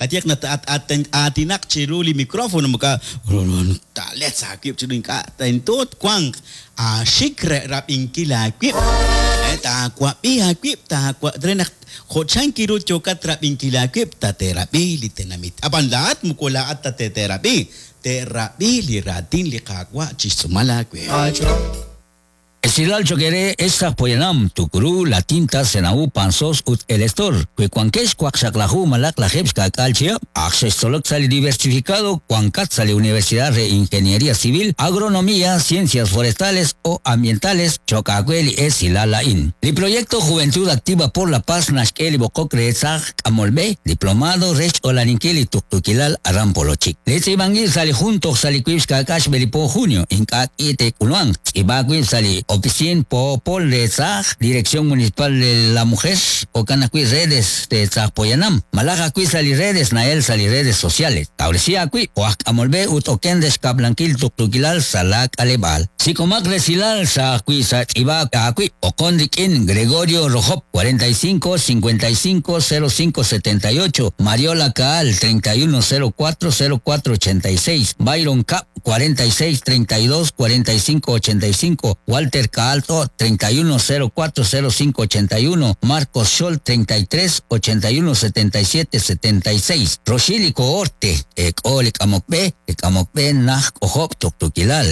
Qayehaq naq tat-aatinaq chiru li microfono moko taaletz aawib' chiru ink'a' tento twanq aaxik re rab'inkil aawib', taawab'i aawib' taawa re naq jo' chank ru yookat rab'inkil aawib' tate'rab'i li tenamit. Ab'an laa'at moko laa'at ta te'rab'i, te'rab'i li raatin li Qaawa' chi xtz'uumal aawe. Esilal cho'q eere ex aj poyanam, Tukuru, La Tinta, Senaú, Panzós ut El Estor, wi wankex waqxaqlaju malaq 70 chihab', ak xextzolok sa' li Diversificado wankat sa' li Universidad re Ingeniería Civil, Agronomía, Ciencias Forestales o Ambientales, cho'q aawe li esilal a'in. Li Proyecto Juventud Activa por la Paz naxk'e li b'oqok re saaj k'amolb'e, diplomado re xch'olaninkil li tuqtuukilal aran Polochik. Li tz'iib'ank ib' sa' li jun toj sa' li 7 xb'e li po junio, ink'a' k'i te'k'ulmanq. Tz'iib'a aawib' sa' li Oficina Poopol re Saaj, Dirección Municipal de la Mujer, jo'kan ajwi' redes re Saaj Poyanam, malaj ajwi' sa' li redes na'el sa' li redes sociales. Kawresi aawib' jo' aj k'amolb'e ut oken re xkab'lankil tuqtuukilal sa' laak'aleb'aal. Sik'omaq resilal sa' ajwi' sa' tz'iib'a aawib', oqon rik'in Gregorio Rojop, 45 55 05 78, Mariola Caal, 31 04 04 86, Byron Cap, 46 32 45 85, Walter Caalto, 31 04 05 81, Marcos Scholl, 33 81 77 76, Roxili Coorte, Ek'o li k'amok b'e, li k'amok b'e naj k'ojob' tuqtuukilal.